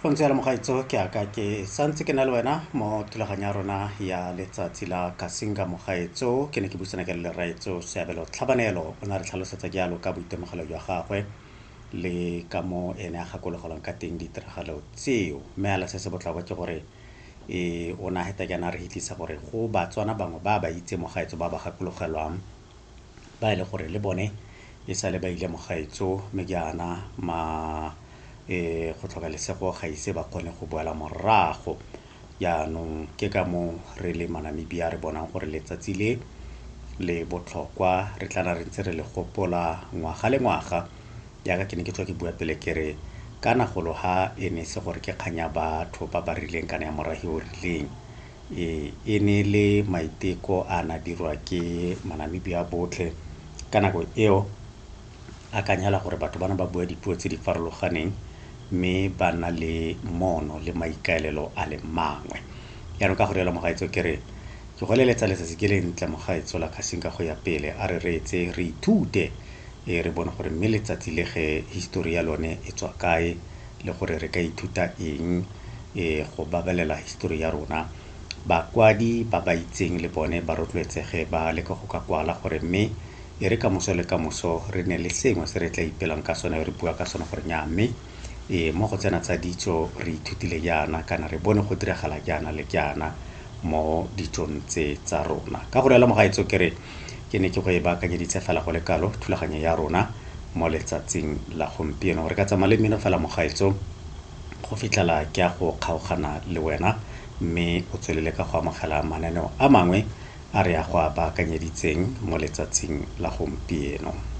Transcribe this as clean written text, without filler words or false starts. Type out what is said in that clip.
Go ntse jalo mogaetso, ke aka ke santse ke na le wena mo thulaganyo ya rona ya letsatsi la Kasinga. Mogaetso, ke ne ke buisana ke le Leraetso Seabelo Tlhabanelo, o ne a re tlhalosetsa jalo ka boitemogelo jwa gagwe le ka mo ene a gakologelwang ka teng ditiragalo tseo. Mme ala se se botlhokwa ke gore o ne a heta jaana a re hitlisa gore go Batswana bangwe ba ba itse mogaetso ba ba gakologelwang, ba e le gore le bone e sale ba ile mogaetso, mme jaana ma go tlhoka lesego ga ise ba kgone go boela morago. Jaanong ke ka moo re le Manamibia re bonang gore letsatsi le le botlhokwa, re tla re ntse re le gopola ngwaga le ngwaga. Jaaka ke ne ke tswa ke bua pele ke re kana golo ha e ne se gore ke kgang ya batho ba ba rileng kana ya morahi o rileng, e ne le maiteko a na dirwa ke Manamibia botlhe ka nako eo. Akanyela gore batho bana ba bua dipuo tse di farologaneng, mme ba na le mono le maikaelelo a le mangwe. Jaanong ka go rialo mogaetso, ke re ke go leletsa letsatsi ke le ntle mogaetso la Kasinga go ya pele. A re reetse, re ithute, re bone gore mme letsatsi le ge histori ya lone e tswa kae, le gore re ka ithuta eng go babalela histori ya rona. Bakwadi ba ba itseng le bone ba rotloetsege ba leka go ka kwala gore mme e re kamoso le kamoso re ne le sengwe se re tla ipelang ka sone, re bua ka sone gore nya mme mo go tsena tsa ditso re ithutile jaana, kana re bone go diragala jaana le jaana mo ditsong tse tsa rona. Ka go rialo mogaetso, ke re ke ne ke go e baakanyeditse fela go le kalo thulaganyo ya rona mo letsatsing la gompieno. Re ka tsamaya le mmino fela mogaetso go fitlhela ke ya go kgaogana le wena, mme o tswelele ka go amogela mananeo a mangwe a re ya go a baakanyeditseng mo letsatsing la gompieno.